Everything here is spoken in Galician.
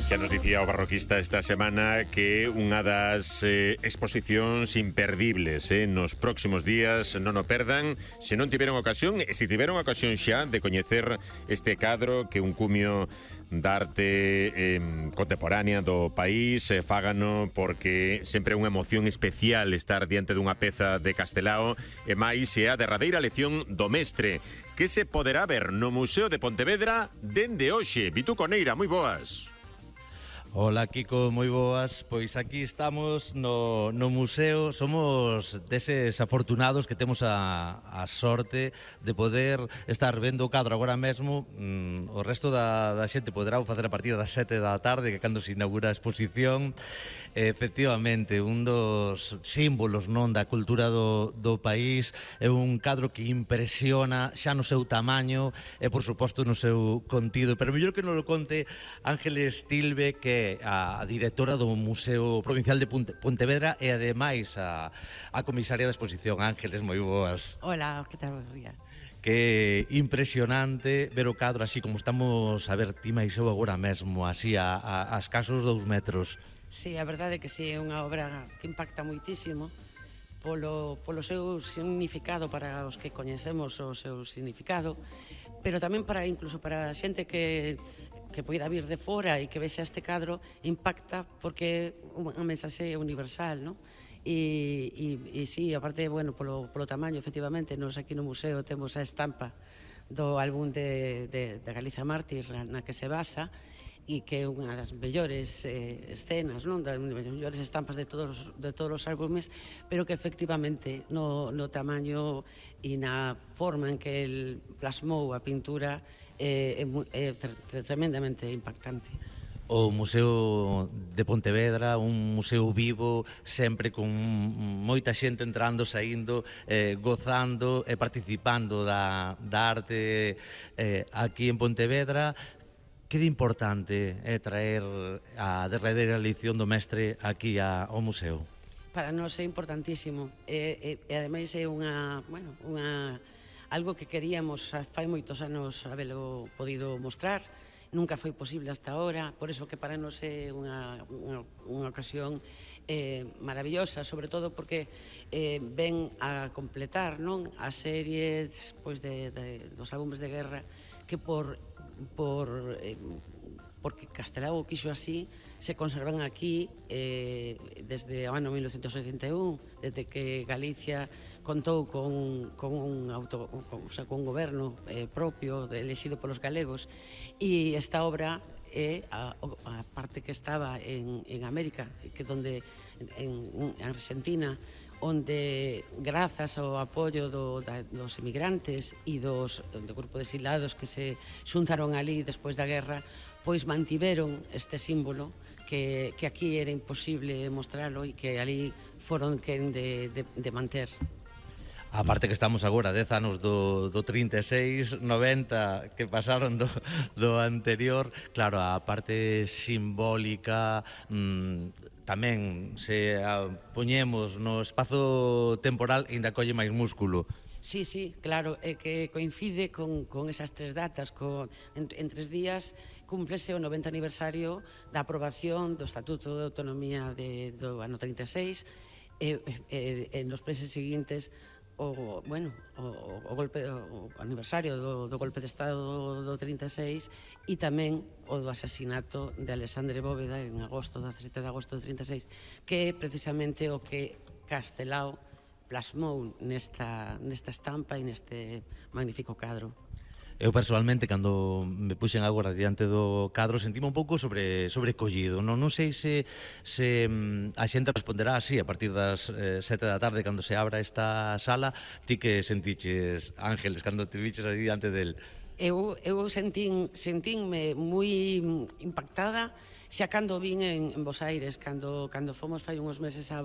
Xa nos dicía o barroquista esta semana que unha das exposicións imperdibles nos próximos días, non o perdan, se non tiveron ocasión, e se tiveron ocasión xa de coñecer este cadro que un cumio da arte contemporánea do país, fágano porque sempre é unha emoción especial estar diante dunha peza de Castelao, e máis é a derradeira lección do mestre, que se poderá ver no Museo de Pontevedra dende hoxe. Vitu Coneira, moi boas. Hola Kiko, moi boas. Pois aquí estamos no museo. Somos deses afortunados que temos a sorte de poder estar vendo o cadro agora mesmo. O resto da xente poderá facer a partir das 7 da tarde, que cando se inaugura a exposición. Efectivamente, un dos símbolos, non, da cultura do país. É un cadro que impresiona xa no seu tamaño e, por suposto, no seu contido. Pero mellor que non lo conte Ángeles Tilbe, que é a directora do Museo Provincial de Pontevedra e ademais a comisaria da exposición. Ángeles, moi boas. Hola, que tal, buenos días. Que impresionante ver o cadro así como estamos a ver ti máis eu agora mesmo, así a escasos 2 metros. Sí, a verdade é que sí, é unha obra que impacta moitísimo polo seu significado para os que coñecemos o seu significado, pero tamén incluso para a xente que poida vir de fora e que vexa este cadro, impacta porque é unha mensaxe universal, non? E sí, aparte, bueno, polo tamaño, efectivamente, nos aquí no museo temos a estampa do álbum de Galicia Mártir na que se basa, e que é unha das mellores escenas, non, das mellores estampas de todos os álbumes, pero que efectivamente no tamaño e na forma en que el plasmou a pintura é tremendamente impactante. O Museo de Pontevedra, un museo vivo, sempre con moita xente entrando, saindo, gozando e participando da arte aquí en Pontevedra. Que de importante é traer a derradeira lección do mestre aquí ao museo? Para nós é importantísimo e ademais é algo que queríamos fai moitos anos habelo podido mostrar. Nunca foi posible hasta ahora, por iso que para nós é unha ocasión maravillosa, sobre todo porque ven a completar, non, as series dos álbumes de guerra que porque Castelao quixo así, se conservan aquí desde o ano 1981, desde que Galicia contou con un goberno propio, elexido polos galegos, e esta obra é a parte que estaba en América, que en Argentina, onde grazas ao apoio dos emigrantes e do grupo de exilados que se xuntaron ali despois da guerra, pois mantiveron este símbolo que aquí era imposible mostralo e que ali foron quen de manter. A parte que estamos agora 10 anos do 36, 90 que pasaron do anterior, claro, a parte simbólica tamén se poñemos no espazo temporal e ainda colle máis músculo. Sí, claro, é que coincide con esas tres datas, en 3 días cúmplese o 90 aniversario da aprobación do Estatuto de Autonomía do ano 36 e nos meses seguintes o aniversario do golpe de Estado do 36 e tamén o do asasinato de Alexandre Bóveda en agosto, 17 de agosto do 36, que é precisamente o que Castelao plasmou nesta estampa e neste magnífico cadro. Eu personalmente, cando me puxen agora diante do cadro, sentime un pouco sobrecollido. Non sei se a xente responderá así a partir das 7 da tarde cando se abra esta sala. Ti que sentiches, Ángeles, cando te viches aí diante del? Eu sentínme moi impactada xa cando vin en Bos Aires, cando fomos fai uns meses a